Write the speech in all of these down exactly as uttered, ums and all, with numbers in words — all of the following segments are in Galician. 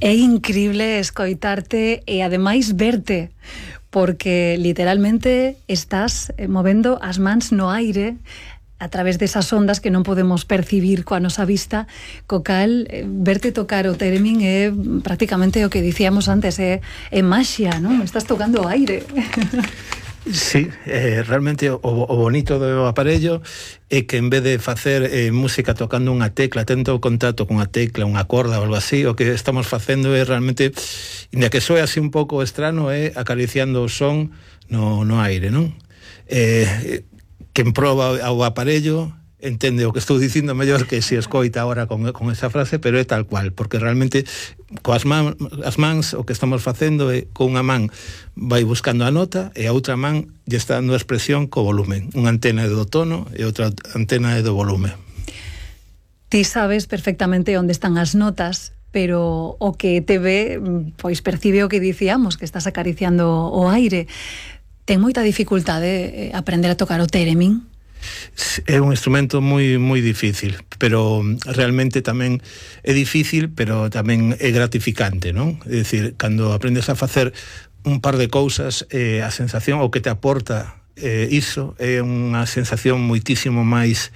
É increíble escoitarte e ademais verte, porque literalmente estás movendo as mans no aire a través desas ondas que non podemos percibir coa nosa vista, co cal verte tocar o theremin é prácticamente o que dicíamos antes, é, é maxia, non? Estás tocando o aire. Sí, eh, realmente o, o bonito do aparello é que en vez de facer eh, música tocando unha tecla, tendo contacto con unha tecla, unha corda ou algo así, o que estamos facendo é realmente, inda que soe así un pouco estrano, é acariciando o son no, no aire, non? Eh, quen proba o aparello entende o que estou dicindo mellor que se escoita agora con, con esa frase, pero é tal cual, porque realmente coas man, as mans o que estamos facendo é con unha man vai buscando a nota e a outra man lle está dando a expresión co volumen. Unha antena é do tono e outra antena é do volumen. Ti sabes perfectamente onde están as notas, pero o que te ve, pois percibe o que dicíamos, que estás acariciando o aire. Ten moita dificultade aprender a tocar o theremin? É un instrumento moi moi difícil, pero realmente tamén é difícil, pero tamén é gratificante, non? É dicir, cando aprendes a facer un par de cousas, eh, a sensación o que te aporta eh, iso é unha sensación moitísimo máis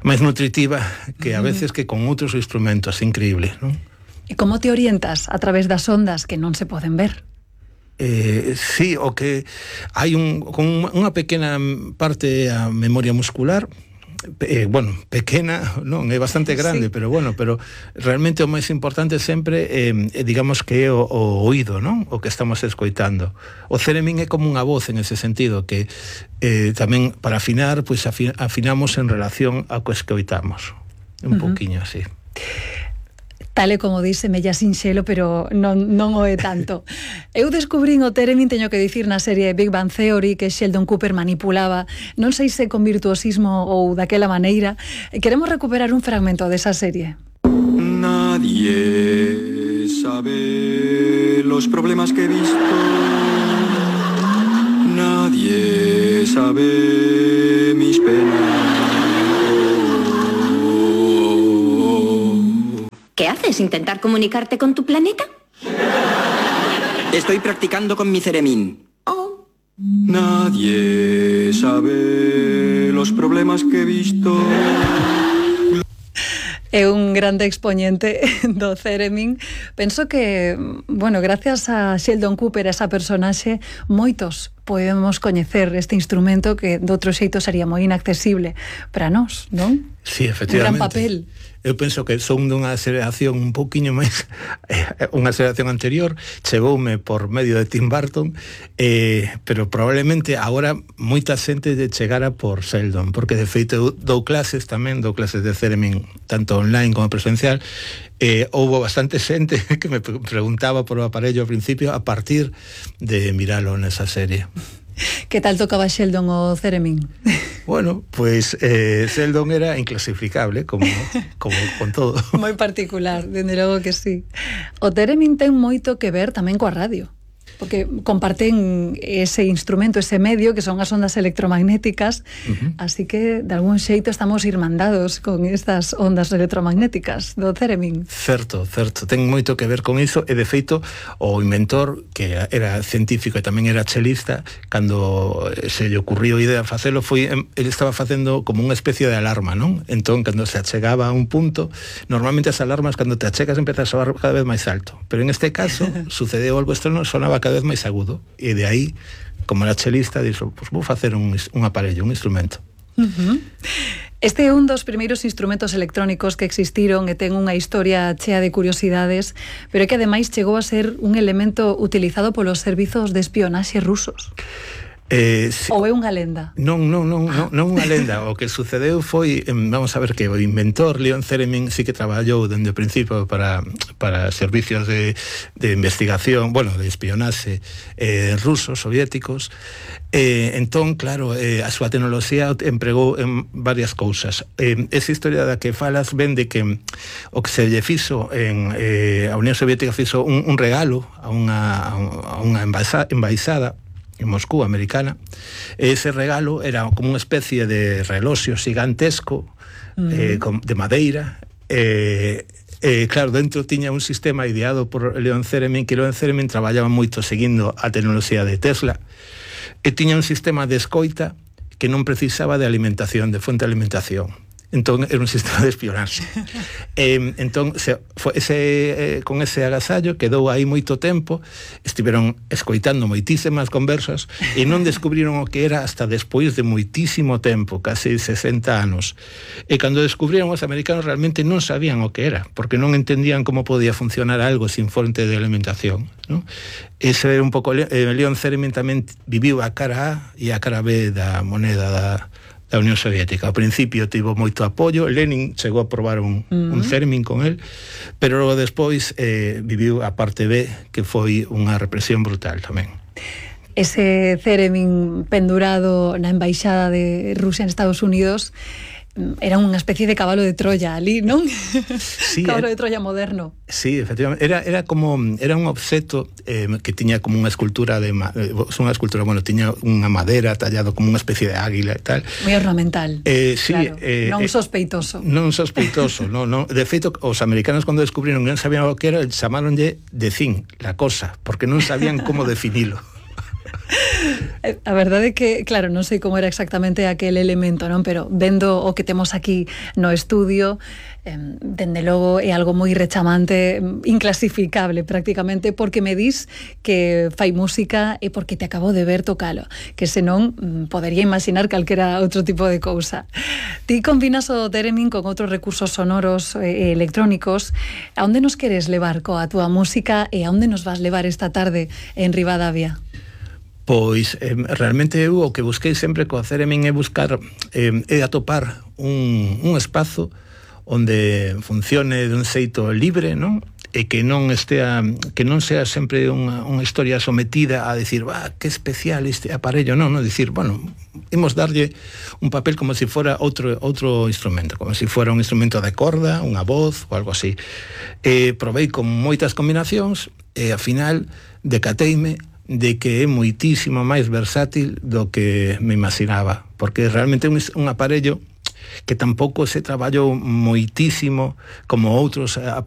máis nutritiva que a veces que con outros instrumentos, increíble, non? E como te orientas a través das ondas que non se poden ver? Eh, sí, o que hai un, con unha pequena parte a memoria muscular, eh, bueno, pequena, non, é bastante grande, sí. pero bueno, pero realmente o máis importante sempre eh, digamos que é o, o oído, non? O que estamos escoitando. O theremin é como unha voz en ese sentido, que eh, tamén para afinar, pois pues, afinamos en relación ao que escoitamos. Un uh-huh. pouquiño así. Tal e como dice, mella sinxelo, pero non, non o é tanto. Eu descubrín o theremin, teño que dicir, na serie Big Bang Theory, que Sheldon Cooper manipulaba, non sei se con virtuosismo ou daquela maneira. Queremos recuperar un fragmento desa serie. Nadie sabe los problemas que he visto. Nadie sabe mis penas. ¿Qué haces? ¿Intentar comunicarte con tu planeta? Estoy practicando con mi theremin. Oh. Nadie sabe los problemas que he visto. É un grande expoñente do theremin. Penso que, bueno, gracias a Sheldon Cooper, esa personaxe, moitos podemos coñecer este instrumento que de outro xeito sería moi inaccesible para nós, non? Sí, efectivamente. Un gran papel. Eu penso que son dunha aceleración un pouquiño máis, unha aceleración anterior, chegoume por medio de Tim Burton, eh, pero probablemente agora moita xente de chegara por Sheldon, porque de feito dou clases tamén, dou clases de theremin, tanto online como presencial. Eh, houbo bastante xente que me preguntaba por o aparello ao principio a partir de miralo nesa serie. Que tal tocaba Sheldon o theremin? Bueno, pues eh, Sheldon era inclasificable, como, como con todo. Moi particular, dende logo que sí. O theremin ten moito que ver tamén coa radio, porque comparten ese instrumento, ese medio, que son as ondas electromagnéticas, uh-huh. así que de algún xeito estamos irmandados con estas ondas electromagnéticas do theremin. Certo, certo, ten moito que ver con iso, e de feito o inventor, que era científico e tamén era chelista, cando se lle ocurriu a idea de facelo, foi, ele estaba facendo como unha especie de alarma, non? Entón, cando se achegaba a un punto, normalmente as alarmas, cando te achegas, empezas a soar cada vez máis alto, pero en este caso, sucedeu algo externo, sonaba cada vez máis agudo, e de aí, como era chelista, dixo, pues vou facer un, un aparello, un instrumento. Uh-huh. Este é un dos primeiros instrumentos electrónicos que existiron e ten unha historia chea de curiosidades, pero é que ademais chegou a ser un elemento utilizado polos servizos de espionaxe rusos. Eh, si, ou é unha lenda? Non, non, non, non, non unha lenda. O que sucedeu foi, vamos a ver, que o inventor Leon Theremin sí que traballou dende o principio para, para servicios de, de investigación, bueno, de espionaxe eh, rusos, soviéticos. Eh, entón, claro, eh, a súa tecnoloxía empregou en varias cousas. Eh, esa historia da que falas ven de que o que se lle fixo en eh, a Unión Soviética fixo un, un regalo a unha, a unha embaixada en Moscú, americana. Ese regalo era como unha especie de reloxo gigantesco, uh-huh. eh, con, de madeira, eh, Eh, claro, dentro tiña un sistema ideado por Leon Theremin, que Leon Theremin traballaba moito seguindo a tecnoloxía de Tesla, e tiña un sistema de escoita que non precisaba de alimentación, de fonte de alimentación. Entón era un sistema de espionaxe. eh, entón se, foi ese, eh, con ese agasallo quedou aí moito tempo, estiveron escoitando moitísimas conversas e non descubriron o que era hasta despois de moitísimo tempo, casi sesenta anos. E cando descubriron, os americanos realmente non sabían o que era, porque non entendían como podía funcionar algo sin fonte de alimentación, ¿no? Ese era un pouco, eh, Leon Theremin tamén viviu a cara A e a cara B da moneda da da Unión Soviética. Ao principio tivo moito apoio, Lenin chegou a probar un, uh-huh. un Theremin con él, pero logo despois eh, viviu a parte B, que foi unha represión brutal tamén. Ese Theremin pendurado na embaixada de Rusia en Estados Unidos era unha especie de cabalo de Troya ali, non? Sí, cabalo era, de Troya moderno. Sí, efectivamente. Era, era como, era un obxeto eh, que tiña como unha escultura de, eh, unha escultura, bueno, tiña unha madera tallado como unha especie de águila e tal. Moi ornamental. Eh, sí, claro, eh, non eh, sospeitoso. Non sospeitoso, no, no. De feito, os americanos cando descubriron que non sabían o que era, chamaronlle de Thing, la cosa, porque non sabían como definilo. A verdade é que, claro, non sei como era exactamente aquel elemento, non? Pero vendo o que temos aquí no estudio, eh, dende logo é algo moi rechamante, inclasificable prácticamente, porque me dis que fai música e porque te acabo de ver tocalo, que senón podería imaginar calquera outro tipo de cousa. Ti combinas o Theremin con outros recursos sonoros e electrónicos. A onde nos queres levar coa túa música e a onde nos vas levar esta tarde en Ribadavia? Pois, eh, realmente eu o que busquei sempre co Theremin é buscar, eh, é atopar un, un espazo onde funcione de un xeito libre, non? E que non estea, que non sea sempre unha, unha historia sometida a decir, va, que especial este aparello, non, non, dicir, bueno, imos darlle un papel como se si fora outro, outro instrumento, como se si fora un instrumento de corda, unha voz ou algo así. E probei con moitas combinacións e, ao final, decateime de que é moitísimo máis versátil do que me imaginaba, porque realmente é un, un aparello que tampouco se traballou moitísimo como outros aparellos